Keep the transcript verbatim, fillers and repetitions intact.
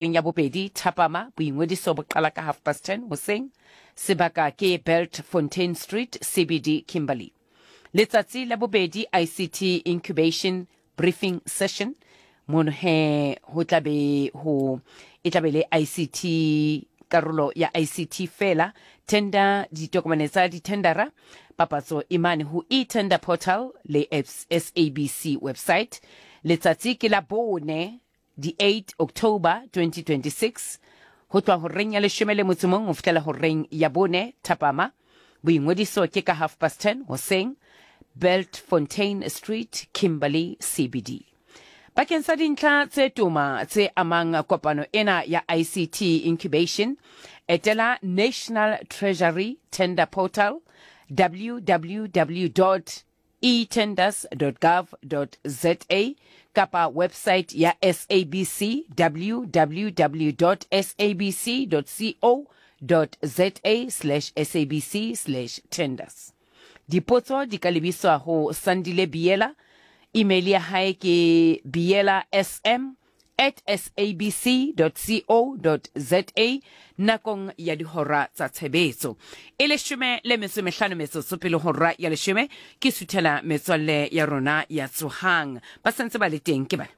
Ya bobedi thapama, boingodiso bo qala ka half past ten hoseng. Sebaka ke Bultfontein Street, C B D, Kimberley. Letsatsi la bobedi, I C T Incubation Briefing Session. Mono he ho tla be ho e tla be le I C T, karolo ya I C T fela. Tender, ditokomane tsa dithendara, papatso e mane ho e-tender portal le S A B C website. Letsatsi ke la bone, di eight October twenty twenty-six, ho tloha horeng ya leshome le motso mong ho fihlela horeng ya bone thapama. Boingodiso ke ka half past ten hoseng, Bultfontein Street, Kimberley, C B D. Bakeng sa dintlha tse toma tse amang kopano ena ya I C T Incubation, etela National Treasury Tender Portal, W W W dot etenders dot gov dot za, kapa website ya S A B C, W W W dot S A B C dot co dot za slash S A B C slash tenders. Dipotso di ka lebiswa ho Sandile Biela. Email ya hae ke biela S M at S A B C dot co dot za nakong ya dihora tsa tshebetso. E leshome le metso e mehlano metsotso pele hora ya leshome. Ke suthela metswalle ya rona ya Tsohang, ba sentse ba le teng ke bana.